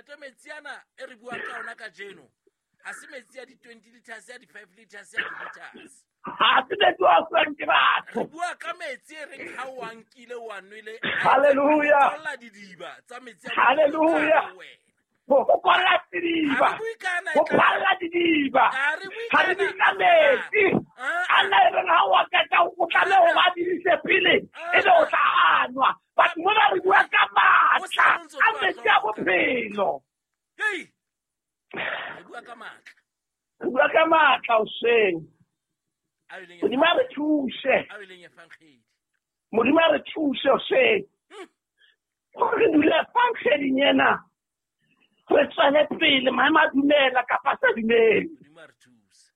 Ntate, metsi ana e re buang ka ona kajeno ha se metsi a di-20 liters, a di-5 liters, a di-liters. Ha se metsi a fuwang ke batho. Re bua ka metsi e reng ha o a nkile o a nwele, Hallelujah. a didiba tsa metsi a Hallelujah. bohlokwa wena. Go kwalla sediba, Ha re bue ka ana e go tla- phalla didiba. Ha re bue Ga ka re ana- bue ka metsi Ah, a nna e reng ha o a qeta o tlameha ho ba dirise pele e be o tla a nwa. But mona re bua ka matla a metsi a bophelo. Hei! Re bua ka matla. Re bua ka matla hoseng. A e leng Modimo a re thuse. a e leng efankgedi. Modimo a re thuse hoseng. Gore re dule efankgeding ena. Re tswele pele maemo a dumela kapa a sa dumele. Modimo a re thuse.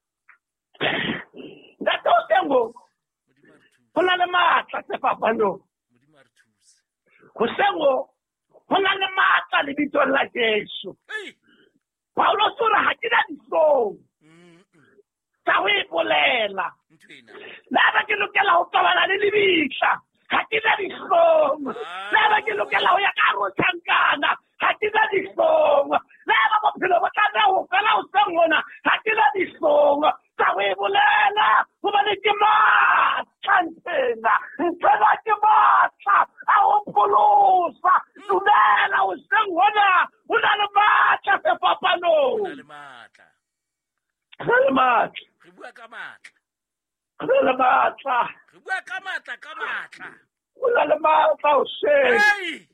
Ntate hoseng ho Modimo a re thuse. go na le matla sefapanong. Modimo a re thuse. Hoseng ho go na le matla lebitsong la Jesu. Hei! Paulos o re ha ke na dihlong Mm-mm. tsa ho e bolela. Ntho ena. Le ha ke lokela ho tobana le lebitla, ha ke na dihlong. Le ha ke lokela ho ya ka hare ho tjhankana, ha ke na dihlong. Le ha bophelo bo tlameha ho fela hoseng hona, ha ke na dihlong tsa ho e bolela, hobane ke matla nthwena. Nthwena ke matla a ho pholosa. Dumela hoseng hona, ho na le matla Ho sefapanong. na le matla. Ho na le matla. Re bua ka matla. Ho na le matla. Re bua ka matla, ka matla. Ho na le matla hoseng. Hei!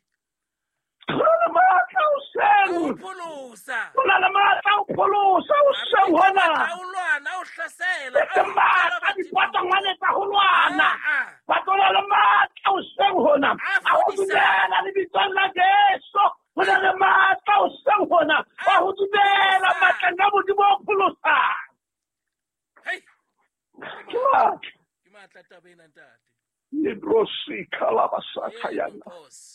Ho na le matla A ho hoseng. pholosa. Ho na le matla ho pholosa hoseng hona. A o lwana, a o hlasela. E seng matla dipatangwane tsa ho lwana. Ah, ah. Batho na le matla hoseng hona. A A ho fodisa. dumela lebitsong la Jesu. Ho na le matla hoseng hona. A ho dumela fodisa. matleng a Modimo o pholosang. Hei! Ke matla. Ke matla taba ena, ntate. Lebrosika la basaka Ee, yana. Nkosi.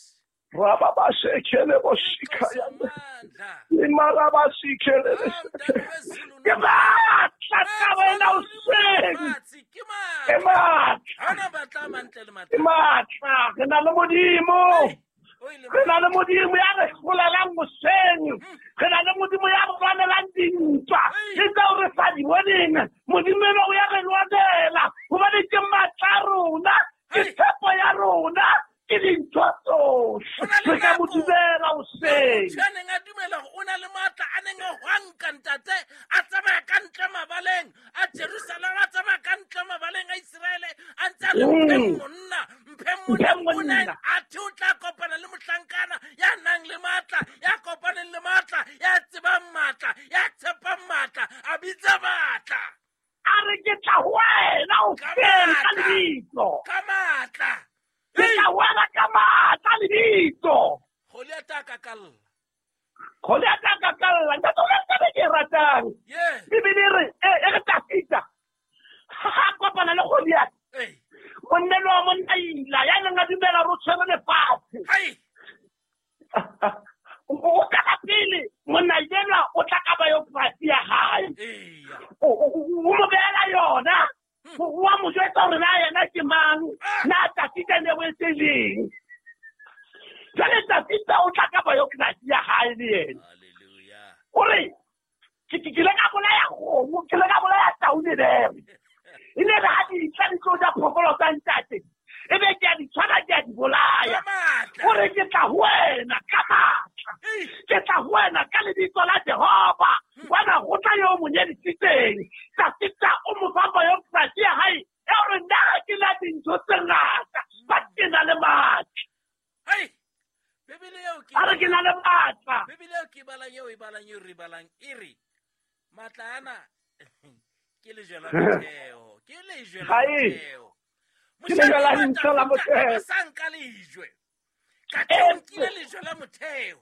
Rababasekele bosika Inkosi yana. amandla. Limarabasikele. Ah, mntana wezulu Ke matla taba ena hoseng. Lefatshe, ke Ke matla. matla. Ha hona matla a mantle le Ke matla. matla. Re na le Modimo. Hei! O e le Re na le Modimo ya re hlolelang hoseng. Re na le Modimo ya re lwanelang dintwa. Ke tseo re sa di boneng. Modimo ena o ya re lwanela. Hobane ke matla a rona. Ke tshepo ya rona. Ke dintho tsohle. Ho na le Re ka mo nako. dumela hoseng. Motho ya neng a dumela hore o na le matla a neng a hwanka ntate a tsamaya ka ntle mabaleng a Jerusalema, a tsamaya ka ntle mabaleng a Iseraele, a ntse a re, "Mpheng monna, mpheng monna." Mpheng O ne monna. athe o tla kopana le mohlankana ya nang le matla, ya kopaneng le matla, ya tsebang matla, ya tshepang matla, a bitsa matla. A re ke tla ho wena Ka hoseng ka matla. lebitso. Ka matla. Ke tla ho wena ka matla lebitso. Goliath a kakalla. Goliath a kakalla. Ntate, o na le taba e ke e ratang. Yeah. Bibele e re, e re Dafita ha a kopana le Goliath, Ei. monna enwa wa monna ila ya neng a dumela hore o tshwere lefatshe. Hai. O tla pele monna enwa o tla ka biography ya hae. Eya. O mo behela yona. O a mo jwetsa hore na yena ke mang, na Dafita ne o etse leng. Jwale Dafita o tla ka biography ya hae le yena. Hallelujah. O re ke ile ka bolaya kgomo, ke ile ka bolaya tau le bere. E ne re ha di tla di tlo ja phoofolo tsa ntate, e be ke a di tshwara ke a di bolaya. Ka matla. O re ke tla ho wena ka matla. Ei. Ke tla ho wena ka lebitso la Jehova. Wena ho tla yo mo nyedisitseng. Dafita o mo fa biography ya hae ya hore nna ha ke na dintho tse ngata, but ke na le matla. Hai. Bibele eo ke A re ke na le matla. Bibele eo ke e balang eo e balang eo re e balang e re matla ana ke lejwe la motheo. Ke lejwe la Hai. motheo. Ke lejwe la Moshanyana ntho la Dafita motheo. a sa nka lejwe. Ka teng o nkile lejwe la motheo.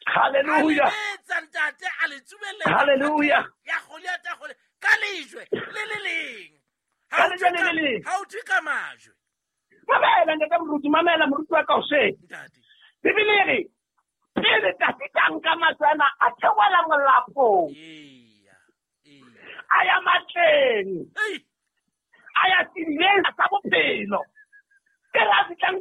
Hallelujah. A le betsa ntate, a le tsubelletsa Hallelujah. ya Goliath a Goliath ka lejwe le le leng. Ha Ka o lejwe thwe le le leng. Ha o thwe ka majwe. Mamela ntate moruti, mamela moruti wa ka hoseng. Ntate. Bibele e re pele Dafita a nka majwe ana a theohela molapong. Eya. Eya. A ya matleng. Ei. A ya sedibeng sa bophelo. Ke re a fihlang